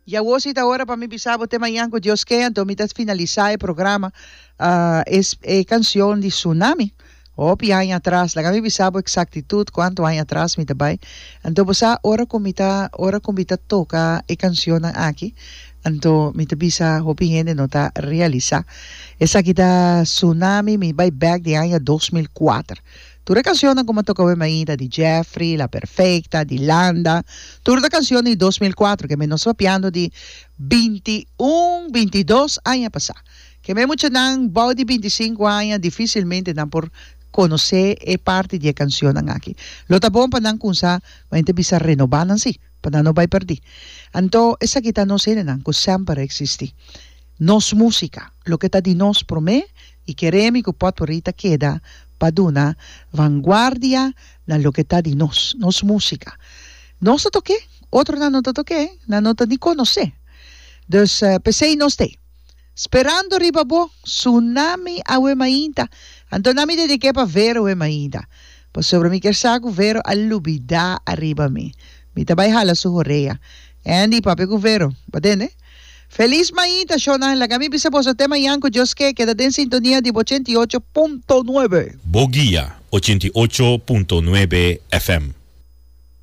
I awor si ta ora pa mi bisa bo te mañan ku Dios ke, anto mi ta finalisá e programa es e kanshon di Tsunami. Hopi aña atras, laga mi bisa bo eksaktitut kuantu aña atras mi ta bai. Anto bo sa ora ku mi ta ora ku mi ta toka e kanshonnan aki, anto mi ta bisa hopi hende no ta realisá. Esaki ta Tsunami, mi bai bèk di aña 2004. Tur e cancionnan cu mi a toca awe mainta di Jeffrey, La Perfecta, di Landa, tur ta cancion di 2004 ke mi nos papiando di 21, 22 aña pasa. Ke mi muchanan bou di 25 aña dificilmente nan por conoce e parti di e cancionnan aki. Lo ta bon pa nan cunsa, ma hende bisa renoba nan si, pa nan no bay perdi. Anto esaki ta nos hendenan cu semper a existi. Nos musica, loke ta di nos prome y keremi cu potpourri ta keda pa duna vanguardia na loke ta di nos, nos musica. Nos ta toke, otronan no ta toke, nan no ta ni conoce. Dus p'esey nos t'ey. Sperando riba bo, tsunami awe mainta. Anto na mi dediké pa Vero awe mainta. Pasobra mi kier sa ku Vero a lubidá ariba mi. Mi ta bai hala su horea. Andy, papia ku Vero. Bo tende? Felis mainta, shownan. Laga mi bisa boso te mañan ku Dios ke. Keda den sintonia di bo 88.9. Bo guia 88.9 FM.